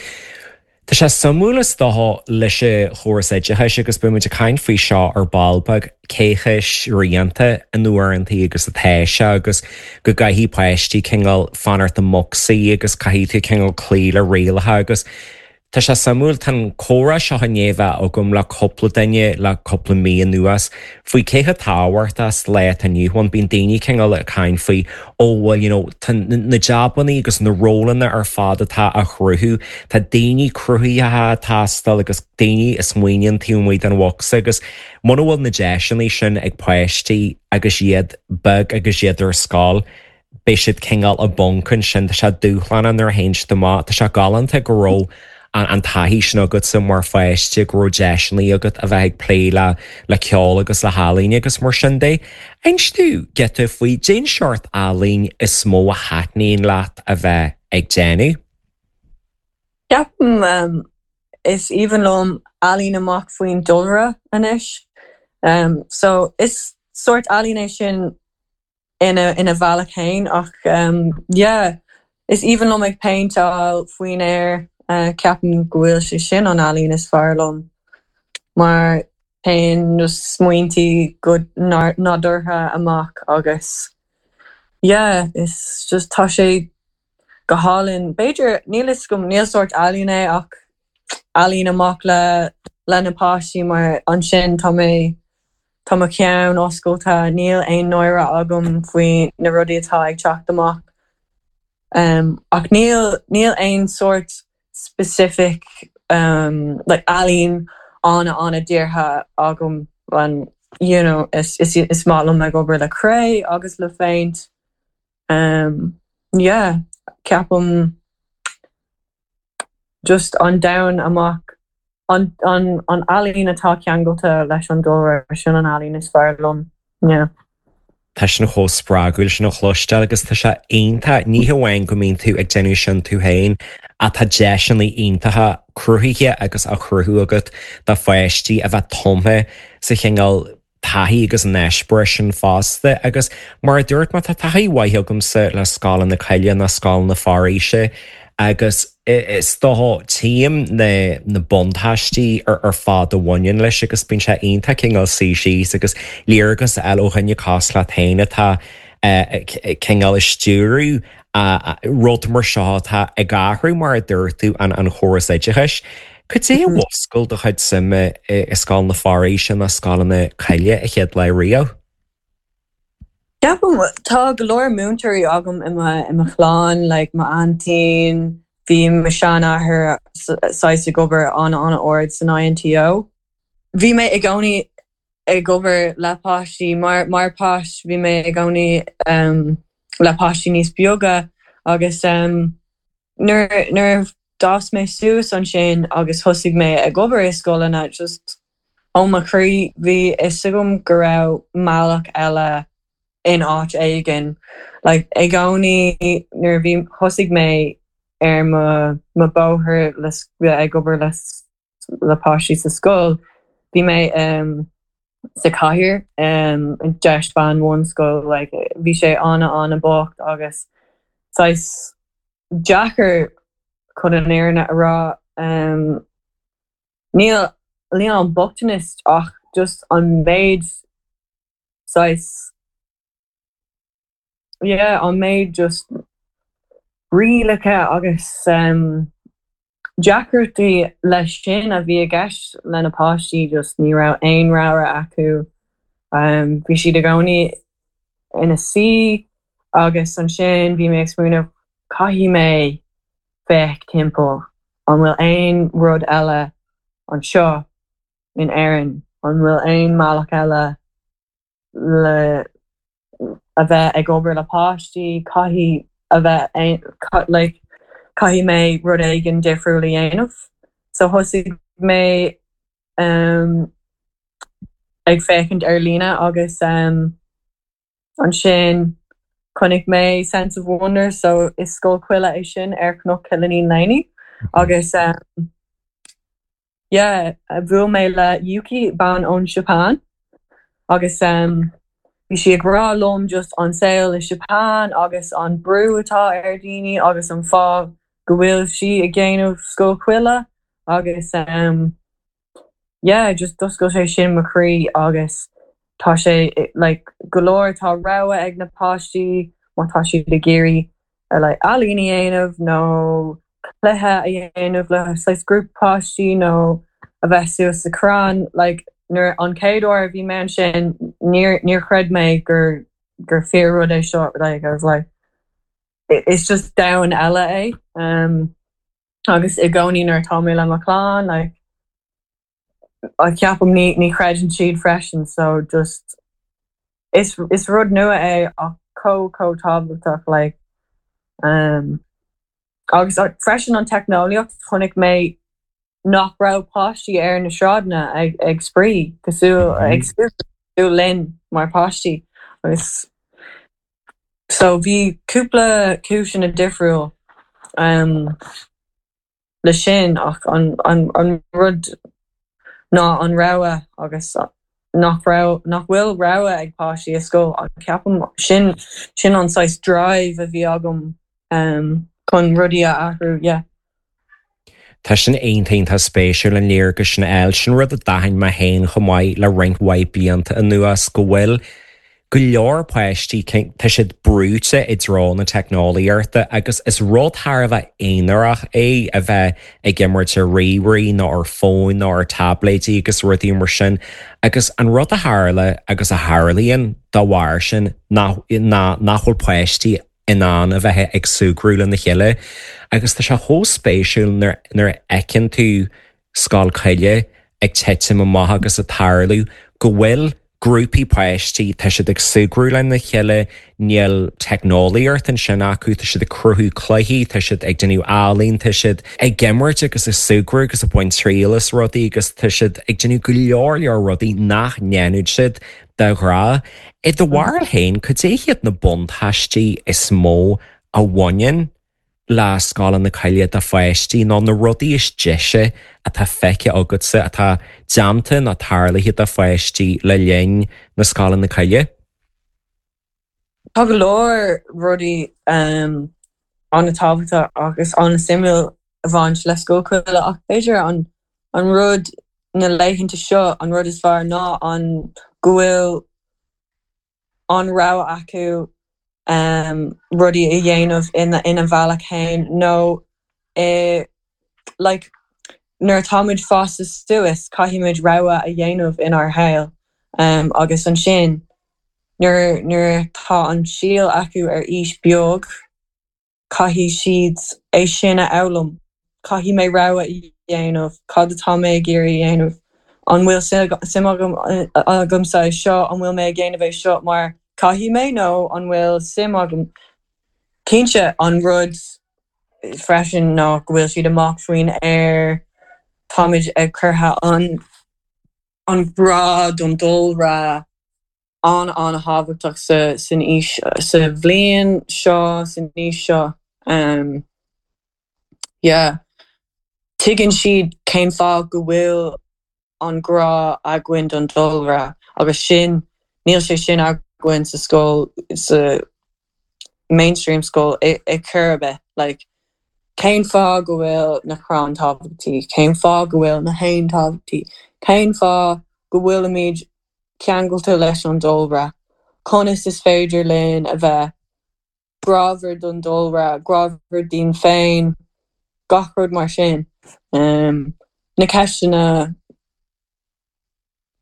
Tá sé suimiúil is dócha leis an chóras oideachais agus beidh muid ag caint faoi seo ar ball beag cé chomh srianta in uaireanta agus atá sé agus go gcaithfidh páistí cineál fanacht i mbocsaí agus caithfidh tú cineál cloí le rialacha agus Tá sé suimiúil tá an comhrá seo i ndiaidh bheith agam le cúpla duine le cúpla mí anuas faoi cé chomh tábhachtach sa lá atá inniu ann bíonn daoine cineál ag caint faoi ó bhuel you know tá na jabannaí agus na rólanna ar fad atá á chruthú tá daoine cruthaitheacha ag teastáil agus daoine a smaoiníonn taobh amuigh den bhocsa agus muna bhfuil na deiseanna sin ag páistí agus iad beag agus iad ar scoil beidh siad cineál i bponc ansin tá sé dúshlánach nuair a théann siad amach tá sé galánta go raibh an, an taithí sin agatsa mar pháiste go raibh deiseanna agat a bheith ag plé le le ceol agus le healaín agus mar sin de. Inis domh giota faoi cén seort ealaín is mó a thaitníonn leat a bheith ag déanamh. Ceapaim um, is aoibhinn liom ealaín amach faoin dúlra anois. Um, so is sórt ealaín é sin ina ina bhealach féin ach um, yeah, is aoibhinn liom ag péinteáil faoin aer uh, ceapaim go bhfuil sé sin an ealaín is fearr liom mar téann na smaointe go nádúrtha amach agus yeah, is just tá sé go hálainn B'fhéidir níl is go níl sórt ealaín é ach ealaín amach le le na páistí mar ansin tá mé tá mo cheann oscailte níl aon náire agam faoi na rudaí atá ag teacht amach. Um, ach níl níl aon sórt specific um, like ealaín an an-dírithe agam an you know, is, is, is maith liom ag obair le cré agus le péint. Um, yeah, ceapaim just an domhan amach an, an, an ealaín atá ceangailte leis an dúlra sin an ealaín is fearr liom. Yeah. Tá sin chomh spreagúil sin a chloisteáil agus tá sé iontach ní hamháin go mbíonn tú ag déanamh sin tú féin ach tá deiseanna iontacha cruthaithe agus á chruthú agat do pháistí a bheith tumtha sa chineál taithí agus an eispéireas sin fosta agus mar a dúirt má tá taithí mhaith agamsa le scoileanna coille na scoileanna foraoise agus is dócha tchím na na buntáistí ar ar fad a bhaineann leis agus bíonn sé iontach cineál suí síos agus léargas a fháil ó dhuine cosúil leat féin atá cineál ag stiúradh rud mar seo atá ag athrú mar a dúirt tú an an chóras oideachais. Cad é a mhúscail do chuid suime i scoileanna foraoise na scoileanna coille a chéad lá riamh? Ceapaim tá go leor múinteoirí agam i mo i mo chlann, like m'aintín, bhí mo sheanathair saghas ag obair an an-ard san INTO. Bhí mé i gcónaí ag obair le páistí mar mar páiste bhí mé i gcónaí um, le páistí níos beaga agus um, nuair nuair d'fhás mé suas ansin agus thosaigh mé ag obair i scoileanna just ó mo chroí bhí fhios agam go raibh bealach eile in áit éigin. Like, i gcónaí nuair bhí thosaigh mé ar mo mo bóthar le ag obair le le páistí sa scoil, bhí mé um, sa chathair um, deis ban bhunscoil like, bhí sé an- an-bhocht agus saghas deacair chun an fhírinne a rá um, níl níl an bochtanas ach just an méid saghas yeah, an méid just rialacha agus um, deacrachtaí leis sin a bhí i gceist le na páistí just ní raibh aon rogha acu um, bhí siad i gcónaí ina suí agus ansin bhí mé ag smaoineamh caithfidh mé féach timpeall an bhfuil aon rud eile anseo in Éirinn an bhfuil aon mbealach eile le a bheith ag obair le páistí caithfidh a bheith like, caithfidh mé rud éigin difriúil a dhéanamh. So thosaigh mé um, ag féachaint ar líne agus um, ansin chonaic mé Sense of Wonder so is scoil coille é sin ar Cnoc Chill Iníon Léanaí agus um, yeah, bhuail mé le Yuki bean ón Japan agus um, bhí sí ag rá liom just an saol i Japan agus an brú atá ar daoine agus an fáth go bhfuil sí ag déanamh scoil coille agus um, yeah, just d'oscail sé sin mo chroí agus tá sé like, go leor tá rogha ag na páistí má tá siad ag iarraidh uh, like, ealaín a dhéanamh nó cluiche a dhéanamh le saghas grúpa páistí nó a bheith suas sa crann like, nuair an chéad uair a bhí mé sin níor níor chreid mé gur gur fíor rud é seo like, I was like it's just domhan eile é um, agus i gcónaí nuair atá mé le mo chlann like, a ceapaim ní ní chreideann siad freisin so just is is rud nua é ach chomh chomh tábhachtach like um, agus uh, freisin an teicneolaíocht chonaic mé nach raibh páistí ar na sráideanna ag ag spraoi cosúil ag mm linn mar páistí agus so bhí cúpla cúiseanna difriúil um, le sin ach an, an, an rud ná an rogha agus nach raibh nach bhfuil rogha ag páistí i scoil an ceapaim sin sin an saghas drive a bhí agam um, chun rudaí a athrú yeah. Tá sin iontach spéisiúil an léargas sin eil sin rud a d'aithin mé féin chomh maith le roinnt mhaith blianta anuas go bhfuil go leor páistí tá siad brúite i dtreo na teicneolaíochta agus is rud thar a bheith aonarach é a bheith ag imirt ar ríomhairí nó ar fón nó ar táibléidí agus rudaí mar sin agus an rud a tharla agus a tharlaíonn dá bharr sin ná nach bhfuil páistí in ann a bheith ag súgradh lena chéile agus tá sé chomh spéisiúil nuair a fheiceann tú scoil coille ag titim amach agus ag tarlú go bhfuil grúpaí páistí tá siad ag súgradh lena chéile níl teicneolaíocht ansin acu tá siad ag cruthú cluichí tá siad ag déanamh ealaín tá siad ag imirt agus ag súgradh agus ag baint triail as rudaí agus tá siad ag déanamh go leor leor rudaí nach ndéanann siad de ghnáth. I do bharúil féin cad é hiad na buntáistí is mó a bhaineann le scoileanna coille do pháistí nó na rudaí is deise atá feicthe agatsa atá déanta nó tarlaithe do pháistí le linn na scoileanna coille? Tá go leor rudaí um, an-tábhachtach agus an-suimiúil a bhain le scoil coille ach b'fhéidir an an rud na laethanta seo an rud is fearr ná an go bhfuil an rogha acu um, rudaí a dhéanamh ina ina bhealach féin nó eh, like, nuair atáimid fásta suas caithfimid rogha a dhéanamh inár shaol um, agus ansin nuair nuair tá an síol acu ar aois beag caithfidh siad é sin a fhoghlaim caithfidh mé rogha a dhéanamh cad atá mé ag iarraidh a dhéanamh an bhfuil suim agam agamsa é seo an bhfuil mé ag déanamh é seo mar caithfidh mé nó an bhfuil suim agam cinnte an rud freisin ná go bhfuil siad amach faoin aer táimid ag curtha an an grá don dúlra an an-tábhachtach sa san aois sa bhliain seo san aois seo um, yeah. Tuigeann siad cén fáth go bhfuil an grá againn don dúlra agus sin níl sé sin againn sa scoil sa mainstream school i, i chor ar bith like cén fáth go bhfuil na crainn tábhachtach cén fáth go bhfuil na héin tábhachtach cén fáth go bhfuilimid ceangailte leis an dúlra conas is féidir linn a bheith grámhar don dúlra grámhar dínn féin gach rud mar sin um, na ceisteanna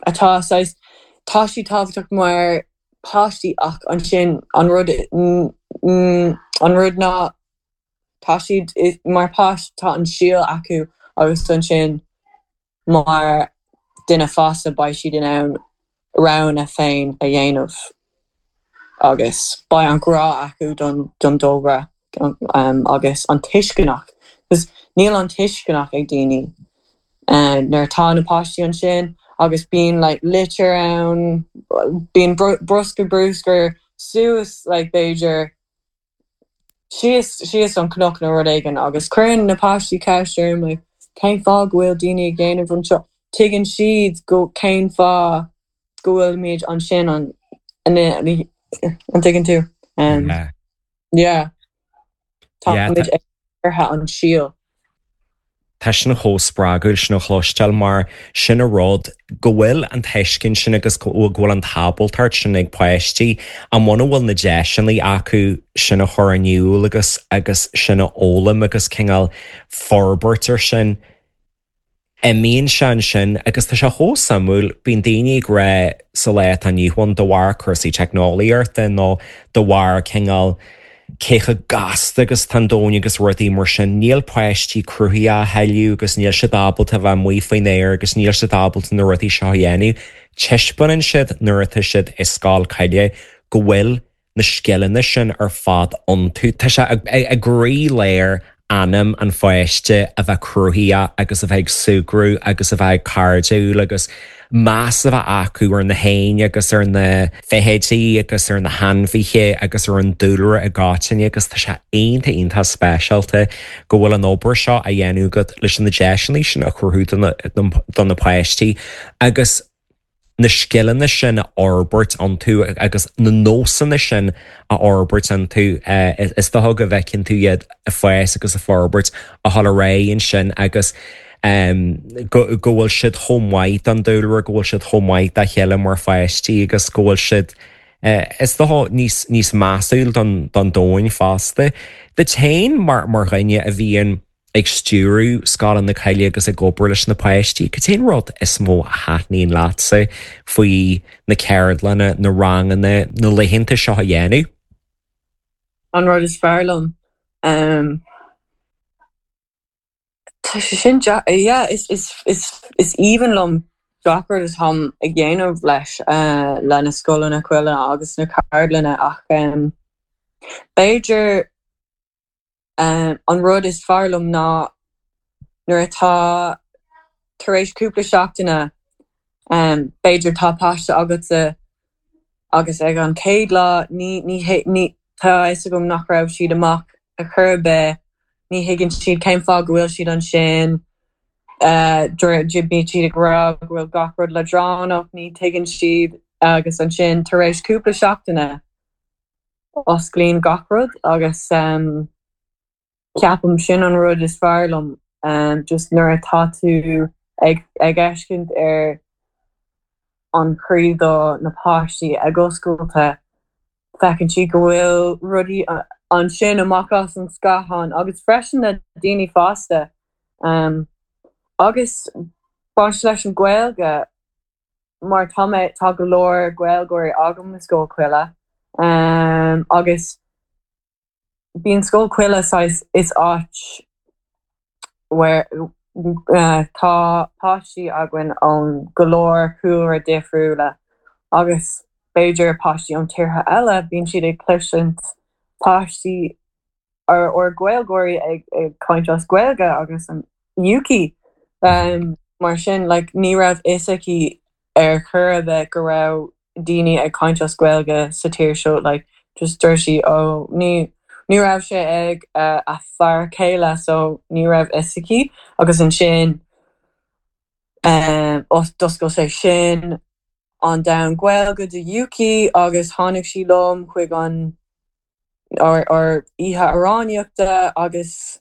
atá saghas tá sí tábhachtach mar páistí ach ansin an rud an rud ná tá siad mar páiste tá an síol acu agus ansin mar duine fásta beidh siad in ann roghanna féin a dhéanamh agus beidh an grá acu don don dúlra um, agus an tuisceanach. Níl an tuisceanach ag daoine Nuair atá na páistí ansin agus bíonn like litter ann, bíonn bruscar bruscar suas like b'fhéidir síos síos an cnoc nó rud éigin agus cuireann na páistí ceist orm like cén fáth go bhfuil daoine ag déanamh anseo tuigeann siad go cén fáth go bhfuilimid ansin an an an tuigeann tú um, Yeah. yeah Yeah, Táimid ag curtha an síol. Tá sin chomh spreagúil sin a chloisteáil mar sin an rud go bhfuil an tuiscint sin agus go bhfuil an ábaltacht sin ag páistí an muna bhfuil na deiseanna acu sin a chur in iúl agus agus sin a fhoghlaim agus cineál forbairt ar sin. Imíonn sé ansin agus tá sé chomh suimiúil bíonn daoine ag rá sa lá atá inniu ann de bharr cúrsaí teicneolaíochta nó de bharr cineál cé chomh gasta agus tá an domhan agus rudaí mar sin níl páistí cruthaithe a thuilleadh agus níl siad ábalta bheith amuigh faoin aer agus níl siad ábalta na rudaí seo a dhéanamh. Taispeánann siad nuair atá siad i scoil coille go bhfuil na scileanna sin ar fad iontu. Tá sé i gcroílár anam an pháiste a bheith cruthaithe agus a bheith ag súgradh agus a bheith cairdiúil agus meas a bheith acu ar na héin agus ar na feithidí agus ar na hainmhithe agus ar an dúlra i gcoitinne agus tá sé iontach iontach speisialta go bhfuil an obair seo á dhéanamh agat leis na deiseanna sin a chruthú do na páistí agus na scileanna sin a fhorbairt iontu agus na nósanna sin a fhorbairt iontu is dócha go bhfeiceann tú iad ag fás agus ag forbairt a dhul ar aghaidh ansin agus go go bhfuil siad chomh maith don dúlra go bhfuil siad chomh maith dá chéile mar pháistí agus go bhfuil siad is dócha níos níos measúil don don domhan fosta. Duit féin mar mar dhuine a bhíonn ag stiúradh Scoil na Coille agus ag obair leis na páistí, cad é an rud is mó a thaitníonn leatsa faoi na ceardlanna, na ranganna, na laethanta seo a dhéanamh? An rud is fearr liom um, Tá sé sin yeah, is is is is aoibhinn liom gach rud atáim ag déanamh leis uh, le na scoileanna coille agus na ceardlanna ach um, b'fhéidir um, an rud is fearr liom ná nuair atá tar éis cúpla seachtaine um, b'fhéidir tá páiste agatsa agus ag an chéad lá ní ní ní tá fhios agam nach raibh siad amach a chur ar bith ní thuigeann siad cén fáth go bhfuil siad ansin uh, bíonn siad ag rá go bhfuil gach rud leadránach ní thuigeann siad agus ansin tar éis cúpla seachtaine osclaíonn gach rud agus um, ceapaim sin an rud is fearr liom um, just nuair atá tú ag ag feiscint ar an chroí do na páistí ag oscailt feiceann siad go bhfuil rudaí ansin amach as an scáthán agus freisin na daoine fásta um, agus baint leis an Ghaeilge mar tá mé tá go leor Gaeilgeoirí agam i Scoil Choille um, agus bíonn Scoil Choille saghas is áit where uh, tá páistí againn ón go leor cúlra difriúla agus b'fhéidir páistí ón tíortha eile bíonn siad ag cloisint páistí or or Gaeilgeoirí ag ag caint as Gaeilge agus an Yuki um, mar sin like, ní raibh fhios aici ar chor ar bith go raibh daoine ag caint as Gaeilge sa tír seo like, just dúirt sí ó ní ní raibh sé ag uh, a fear céile so ní raibh fhios aici agus ansin um, d'oscail sé sin an domhan Gaeilge do Yuki agus tháinig sí liom chuig an or, or oíche amhránaíochta agus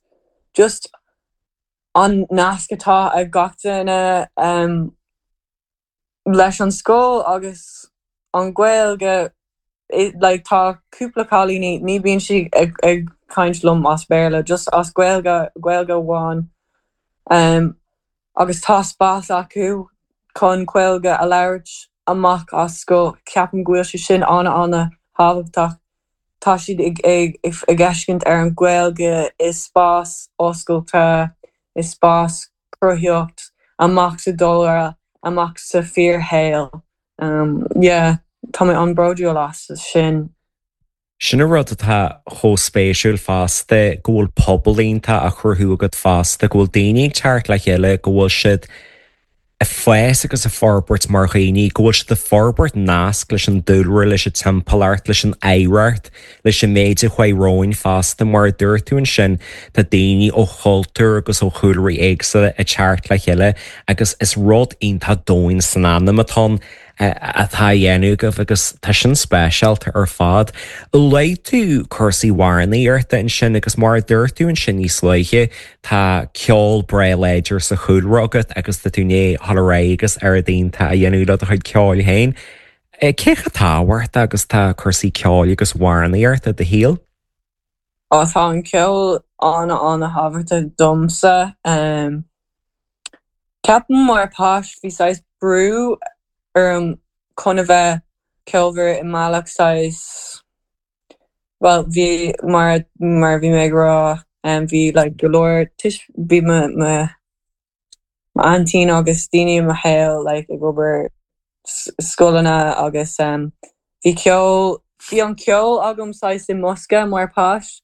just an nasc atá ag gach duine um, leis an scoil agus an Ghaeilge like tá cúpla cailíní ní bíonn sí ag, ag caint liom as Béarla just as Gaeilge Gaeilge amháin um, agus tá spás acu chun Gaeilge a labhairt amach as scoil ceapaim go bhfuil sé sin an an-tábhachtach tá siad ag ag ag feiscint ar an Ghaeilge i spás oscailte i spás cruthaitheacht amach sa dúlra amach sa fíorshaol um, yeah, tá mé an-bhródúil as sin. Sin an rud atá chomh spéisiúil fosta go bhfuil pobal iontach á chruthú agat fosta, go bhfuil daoine ag teacht le chéile, go bhfuil siad ag fás agus ag forbairt mar dhaoine, go bhfuil siad ag forbairt nasc leis an dúlra, leis an timpeallacht, leis an oidhreacht, leis an méid a chuaigh romhainn fosta mar a dúirt tú ansin tá daoine ó chultúir agus ó chúlraí éagsúla ag teacht le chéile agus is rud iontach domhain san anam atá ann atá á dhéanamh agaibh agus tá sin speisialta ar fad. Luaigh tú cúrsaí amhránaíochta ansin agus mar a dúirt tú ansin níos luaithe tá ceol breá láidir sa chúlra agat agus tá tú i ndiaidh dul ar aghaidh agus obair iontach a dhéanamh le do chuid ceoil féin. Cé chomh tábhachtach agus tá cúrsaí ceoil agus amhránaíochta i do shaol? Ó tá an ceol an-an-tábhachtach domsa. Um, Ceapaim mar pháiste bhí saghas brú orm chun a bheith ceolmhar i mbealach saghas well bhí mar mar bhí mé ag rá um, bhí like go leor tis bhí mo mo aintín agus daoine i mo shaol like ag obair scoileanna agus um, bhí ceol bhí an ceol agam saghas i mbosca mar pháiste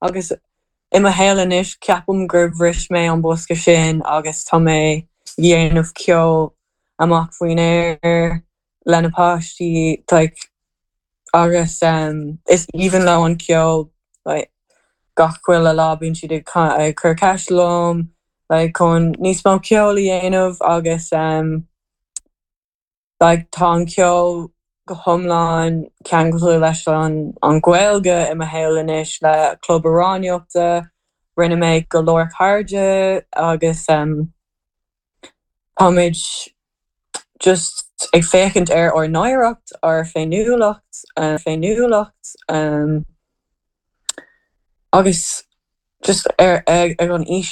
agus i mo shaol anois ceapaim gur bhris mé an bosca sin agus tá mé ag dhéanamh ceol amach faoin aer le na páistí like agus um, is aoibhinn leo an ceol like gach chuile lá bíonn siad ag ag cur ceist liom like chun níos mó ceol a dhéanamh agus um, like tá an ceol go hiomlán ceangailte leis an an Ghaeilge i mo shaol anois le club amhránaíochta, rinne mé go leor cairde agus um, táimid just ag féachaint ar ár n-oidhreacht, ár féiniúlacht, uh, féiniúlacht um, agus just ar ag, ag an aois